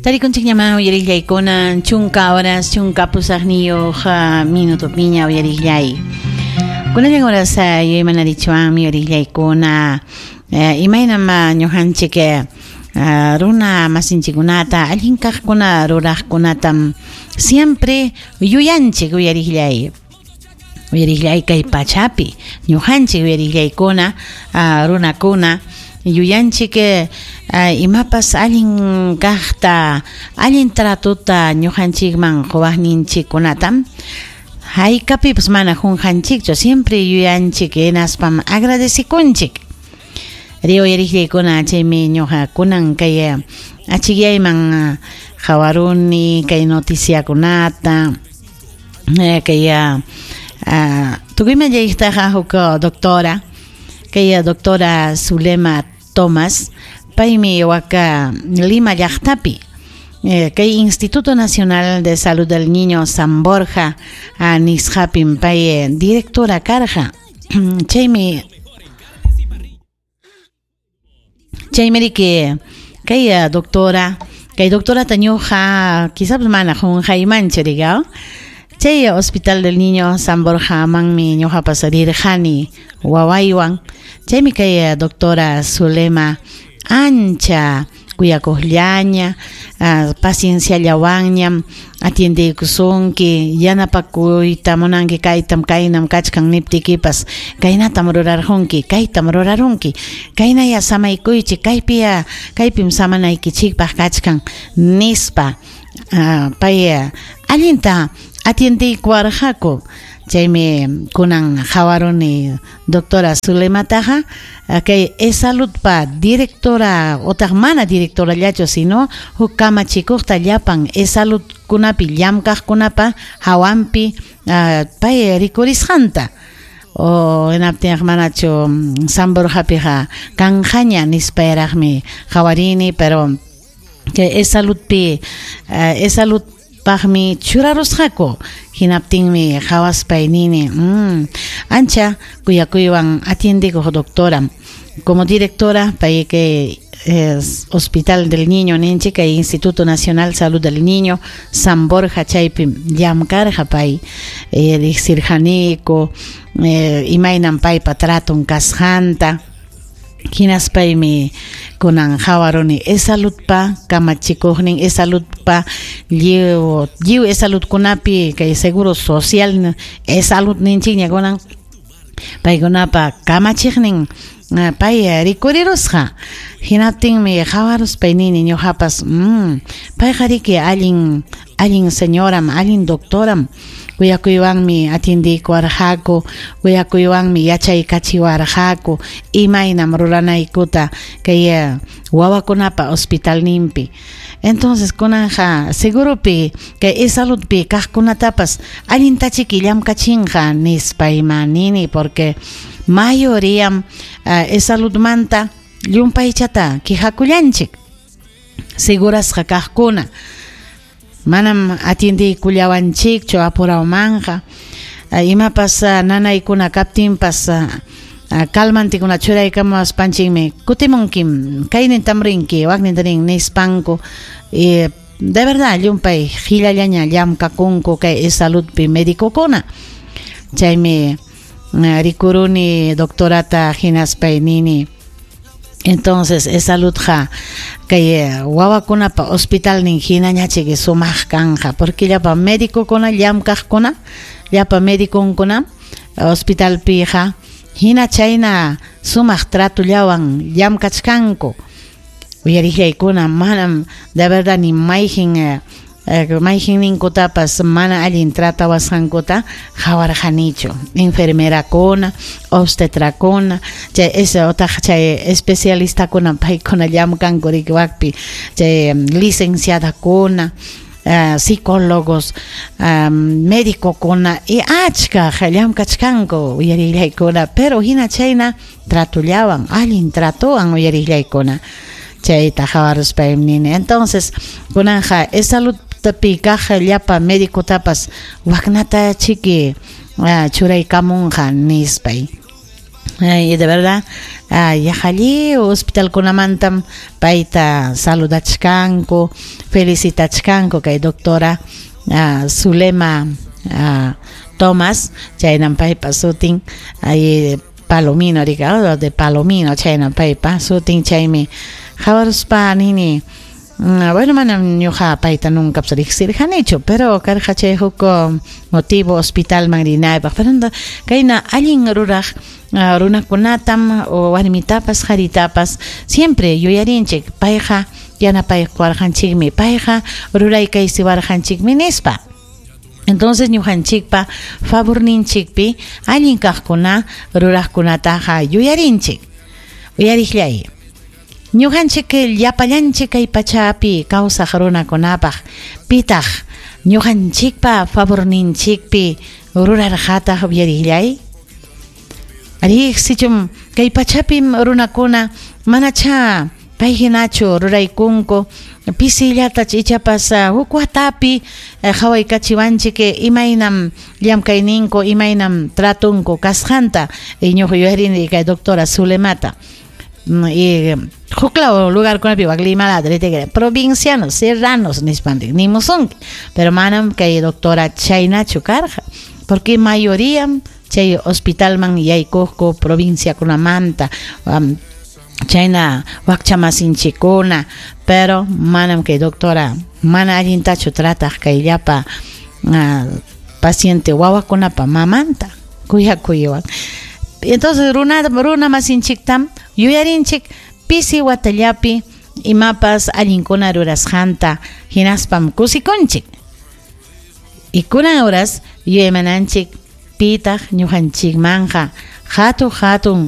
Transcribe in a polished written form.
Tarikunchikñamá uyariqllaykuna chunka horas chunka pusaqniyuq minutopiña uyariqllay. Kunallan horas yuyaymanarichwanmi uyariqllaykuna imaynam ñuqanchik runa masinchikkunata allin kaqkuna ruraqkunatam siempre yuyanchik uyariqllay. Uyariqllay kay pachapi ñuqanchik uyariqllaykuna runakuna yuyanchik imapas allin kaqta allin tratota ñuqanchikman quwaqninchikkunatam haykapipas mana qunqanchikchu siempre yuyanchik hinaspam agradecekunchik. Ri uyariqllaykuna chaymi ñuqa kunan kay achikyayman qawaruni kay noticiakunata kay tukuyman llayqtaqa huk doctora kay doctora Zulema Thomas paymi waka Lima llaqtapi kay Instituto Nacional de Salud del Niño San Borja nisqapim pay directora karqa chaymi riki kay doctora kay doctorata ñuqa quizás mana qunqaymanchu riqa chay Hospital del Niño San Borja manmi ñuqapas rirqani wawaywan chaymi kay doctora Zulema ancha kuyakuqllaña pacienciallawanñam atiendeykusunki yanapakuyta munanki kaytam kaynam kachkan niptikipas kaynatam rurarqunki kaytam rurarunki kaynaya samaykuychik kaypiya kaypim samanaykichikpaq kachkan nispa pay allinta atiendeykuwarqaku chaymi kunan qawaruni doctora Zulemataqa kay EsSaludpa directora otaq mana directorallachu sino huk kamachikuqta llapan EsSaludkunapi llamkaqkunapa hawanpi pay rikurisqanta o hinaptinqa manachu San Borjapiqa kanqaña nispayraqmi qawarini pero kay EsSaludpi EsSalud paqmi churarusqaku hinaptinmi qawaspay nini ancha kuyakuywan atiendekuq doctora como directora pay kay Hospital del Niño ninchik kay Instituto Nacional Salud del Niño San Borja chaypi llamkarqa pay riqsirqaniku imaynam paypa traton kasqanta hinaspaymi kunan qawaruni EsSaludpa kamachikuqnin EsSaludpa lliw EsSaludkunapi kay seguro social EsSalud ninchikña kunan paykunapa kamachiqnin pay rikurirusqa hinaptinmi qawaruspay nini ñuqapas payqa riki allin allin señoram allin doctoram kuyakuywanmi atiendeykuwarqaku kuyakuywanmi yachaykachiwarqaku imaynam ruranaykuta kay wawakunapa hospitalninpi entonces kunanja seguropi kay EsSaludpi kaqkunatapas allintachiki llamkachinqa nispayma nini porque mayoriam EsSaludmanta llumpaychata quejakullanchik segurasqa kaqkuna manam atiendeykullawanchikchu apurawmanqa imapas nanaykuna kaptinpas calmantikuna churaykamuwaspanchikmi kutimunkim kaynintam rinki wakninta rin nispanku de verdad llumpay qillallaña llamkakunku kay EsSaludpi medicokuna chaymi rikuruni doctorata hinaspay nini entonces EsSaludqa kay wawakunapa hospitalnin hinañachiki sumaq kanqa porque llapa medicokuna llamkaqkuna llapa mediconkuna hospitalpiqa hina chayna sumaq tratollawan llamkachkanku uyariqllaykuna manam de verdad ni mayqin mayqinninkutapas mana allin tratawasqankuta qawarqanichu enfermerakuna obstetrakuna chay esa otaq chay especialistakuna paykuna llamkanku riki wakpi chay licenciadakuna psicólogos médicokuna y achka llamkachkanku uyariqllaykuna pero hina chayna tratollawan allin tratowan uyariqllaykuna chayta qawaruspaymi nini entonces kunanja EsSaludpi kaq llapa medicotapas waknata chiki churaykamunqa nispay. Y de verdad, yaqa lliw hospitalkunamantam payta saludachkanku, felicitachkanku kay doctora Zulema Thomas, chaynam paypa sutin, ay Palomino rika, de Palomino, chaynam paypa sutin, chaymi qawaruspa nini, bueno, manam ñuqa payta nunca riqsirqanichu, pero karqa chay huk motivo hospitalman rinaypaq, pero kayna allin ruraq runakunatam o warmitapas qaritapas siempre yuyarinchik, payqa yanapaykuwarqanchikmi, payqa ruraykaysiwarqanchikmi nispa. Entonces ñuqanchikpa favorninchikpi allin kaqkuna ruraqkunataqa yuyarinchik. Uyariqllay. Ñuqanchik llapallanchik kay pachapi kawsaq runakunapaq pitaq ñuqanchikpa favorninchikpi rurarqataq uyariqllay. Arí, sichum kay pachapim runakuna manacha pay hinachu ruraykunku pisillata ichapas huk watapi qhawaykachiwanchik imaynam llamkayninku imaynam tratunku kasqanta ñuqa yuyarini kay doctora Zulemata y huklaw lugarkunapi wak Limalata provincianos serranos nispantik nimusunki pero manam kay doctora chaynachu karqa porque mayoría chay hospitalman yaykuqku provinciakunamanta chayna wakchamasinchikkuna pero manam kay doctora mana allintachu trataq kay llapa paciente wawakunapa mamanta kuyakuywan. Entonces runa masinchiktam yuyarinchik pisi watallapi imapas allinkuna rurasqanta hinaspam kusikunchik. Y kunan horas yuyaymananchik pitaq ñuqanchikmanqa hatun hatun